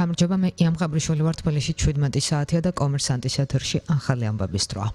გამარჯობა, მე იამ გაბრიშვილი ვარ, თბილისში 17 საათია და კომერსანტის ეთერში ახალი ამბების დროა.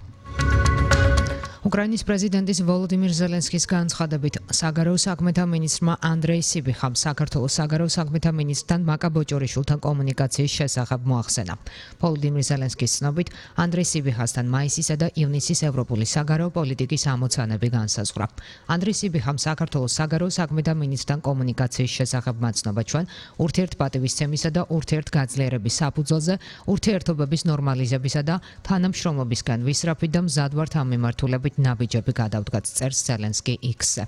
უკრაინის პრეზიდენტის ვოლოდიმირ ზელენსკის განცხადებით საგარეო საქმეთა მინისტრმა ანდრეი სიბიხამ საქართველოს საგარეო საქმეთა მინისტრთან მაკა ბოჭორიშვილთან კომუნიკაციის შესახებ მოახსენა. ვოლოდიმირ ზელენსკის ცნობით, ანდრეი სიბიხასთან მაისისა და ივნისის ევროპული საგარეო პოლიტიკის ამოცანები განსაზღვრა. ანდრეი სიბიხამ საქართველოს საგარეო საქმეთა მინისტრთან კომუნიკაციის შესახებ მაცნობა ჩვენ ურთიერთპატივისცემისა და ურთიერთგაძლიერების საფუძველზე ურთიერთობების ნორმალიზებისა და თანამშრომლობისგან ვისწრაფით და მზად ვართ ამ მიმართულებით ნაბიჯები გადავდგათ, წერს ზელენსკი X-ზე.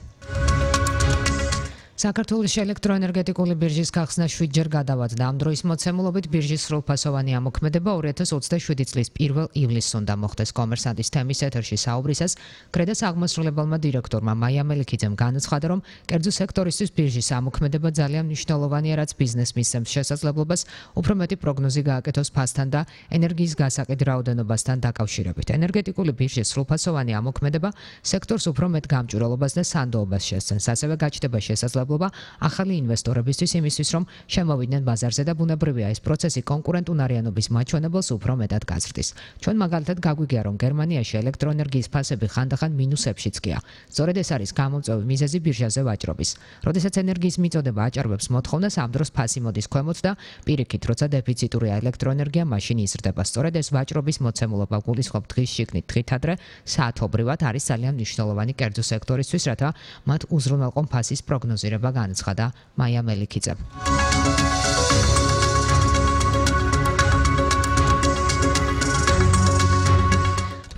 საქართველოს ელექტროენერგეტიკული ბირჟის გახსნა 7 ჯერ გადავადა. ამ დროის მოცემულობით ბირჟის სრულფასოვანი ამოქმედება 2027 წლის 1 ივლისს უნდა მოხდეს. კომერსანტის თემის ეთერში საუბრისას კრედას აღმასრულებელმა დირექტორმა მაია მელიქიძემ განაცხადა, რომ კერძო სექტორისთვის ბირჟის ამოქმედება ძალიან მნიშვნელოვანია, რაც ბიზნესს მისცემს შესაძლებლობას უფრო მეტი პროგნოზი გააკეთოს ფასთან და ენერგიის გასაყიდ რაოდენობასთან დაკავშირებით. ენერგეტიკული ბირჟის სრულფასოვანი ამოქმედება სექტორს უფრო მეტ გამჭვირვალობას და სანდოობას შესცემს. ასევე გაჩნდება შესაძლებლობა ახალი ინვესტორებისთვის იმისთვის, რომ შემოვიდნენ ბაზარზე და ბუნებრივია ეს პროცესი კონკურენტუნარიანობის მაჩვენებელს უფრო მეტად გაზრდის. ჩვენ მაგალითად გაგვიგია, რომ გერმანიაში ელექტროენერგიის ფასები ხანდახან მინუსებშიც გია. სწორედ ეს არის გამომწვევი მიზეზი ბირჟაზე ვაჭრობის. როდესაც ენერგიის მიწოდება აჭარბებს მოთხოვნას, ამ დროს ფასი მოდის ქვემოთ და პირიქით, როცა დეფიციტურია ელექტროენერგია, მაშინ იზრდება. სწორედ ეს ვაჭრობის მოცემულობა გულისხმობ დღის შიგნით დღით ადრე საათობრივად არის ძალიან მნიშვნელოვანი კერძო სექტორისთვის, რათა მათ უზრუნველყო ფასის პროგნოზირება განაცხადა მაია მელიქიძემ.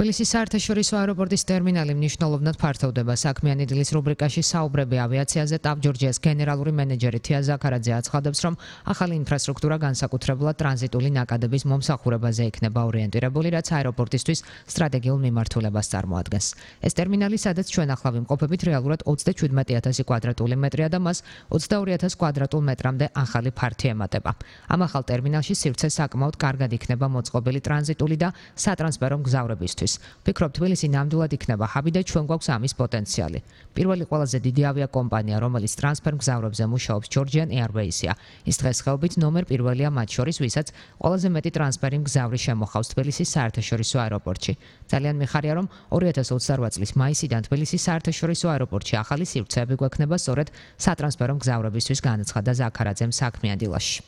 თბილისის საერთაშორისო აეროპორტის ტერმინალი მნიშვნელოვნად ფართოვდება. საქმიანი დილის რუბრიკაში საუბრები ავიაციაზე ტავ-ჯორჯიას გენერალური მენეჯერი თია ზაქარაძე აცხადებს, რომ ახალი ინფრასტრუქტურა განსაკუთრებულად ტრანზიტული ნაკადების მომსახურებაზე იქნება ორიენტირებული, რაც აეროპორტისთვის სტრატეგიულ მიმართულებას წარმოადგენს. ეს ტერმინალი, სადაც ჩვენ ახლა ვიმყოფებით, რეალურად 37,000 კვადრატული მეტრია და მას 22,000 კვადრატულ მეტრამდე ახალი ფართი ემატება. ამ ახალ ტერმინალში სივრცე საკმაოდ კარგად იქნება მოწყობილი ტრანზიტული და სატრანსფერო მგზავრებისთვის. ვფიქრობ, თბილისი ნამდვილად იქნება ჰაბი და ჩვენ გვაქვს ამის პოტენციალი. პირველი ყველაზე დიდი ავიაკომპანია, რომელიც ტრანსფერ მგზავრებზე მუშაობს, Georgian Airways-ია. ის დღესდღეობით ნომერ პირველია მათ შორის, ვისაც ყველაზე მეტი ტრანსფერი მგზავრი შემოხავს თბილისის საერთაშორისო აეროპორტში. ძალიან მიხარია, რომ 2028 წლის მაისიდან თბილისის საერთაშორისო აეროპორტში ახალი სივრცეები გვექნება სწორედ სატრანსფერო მგზავრებისთვის, განაცხადა ზაქარაძემ საქმიან დილაში.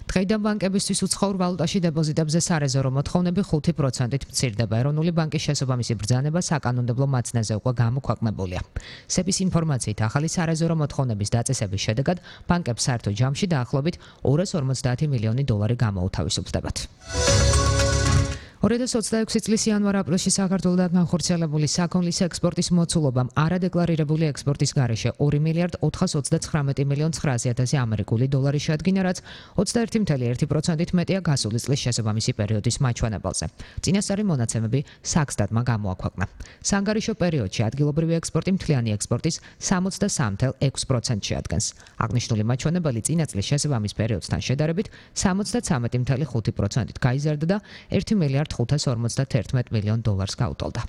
დღეიდან ბანკებისთვის უცხოურ ვალუტაში დეპოზიტებზე სარეზერვო მოთხოვნები 5%-ით მცირდება. ეროვნული ბანკის შესაბამისი ბრძანება საკანონმდებლო მაცნეზე უკვე გამოქვეყნებულია. სების ინფორმაციით, ახალი სარეზერვო მოთხოვნების დაწესების შედეგად ბანკებს საერთო ჯამში დაახლოებით 250 მილიონი დოლარი გამოუთავისუფლდებათ. 2026 წლის იანვარ-აპრილში საქართველოდან განხორციელებული საქონლის ექსპორტის მოცულობამ არადეკლარირებული ექსპორტის გარეშე 2 მილიარდ 439 მილიონ 900 ამერიკული დოლარი შეადგინა, რაც 21,1%-ით მეტია გასული წლის შესაბამისი პერიოდის მაჩვენებელზე. წინასწარი მონაცემები საქსტატმა გამოაქვეყნა. საანგარიშო პერიოდში ადგილობრივი ექსპორტი მთლიანი ექსპორტის 63,6% შეადგენს. აღნიშნული მაჩვენებელი წინა წლის შესაბამის პერიოდთან შედარებით 73,5%-ით გაიზარდა და 1 მილიარდ 551 მილიონ დოლარს გაუტოლდა.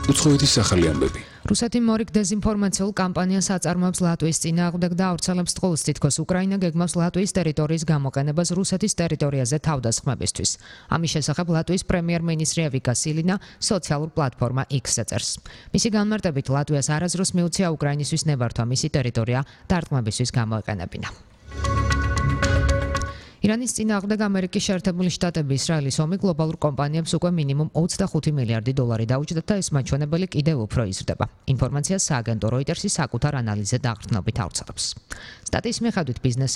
უცხოეთის ახალი ამბები. რუსეთი მორიგ დეზინფორმაციულ კამპანიას აწარმოებს ლატვიის წინააღმდეგ და ავრცელებს ტყუილს, თითქოს უკრაინა გეგმავს ლატვიის ტერიტორიის გამოყენებას რუსეთის ტერიტორიაზე თავდასხმებისთვის. ამის შესახებ ლატვიის პრემიერ-მინისტრი ევიკა სილინა სოციალურ პლატფორმა X-ზე წერს. მისი განმარტებით, ლატვიას არასდროს მიუცია უკრაინისთვის ნებართვა მისი ტერიტორია დარტყმებისთვის გამოეყენებინა. ირანის წინააღმდეგ ამერიკის შეერთებული შტატები ისრაელის ომი გლობალურ კომპანიებს უკვე მინიმუმ 25 მილიარდი დოლარი დაუჭდათ და ეს მაჩვენებელი კიდევ უფრო იზრდება. ინფორმაციას სააგენტო როიტერსი საკუთარ ანალიზზე დაყრდნობით ავრცელებს. სტატიის მიხედვით ბიზნეს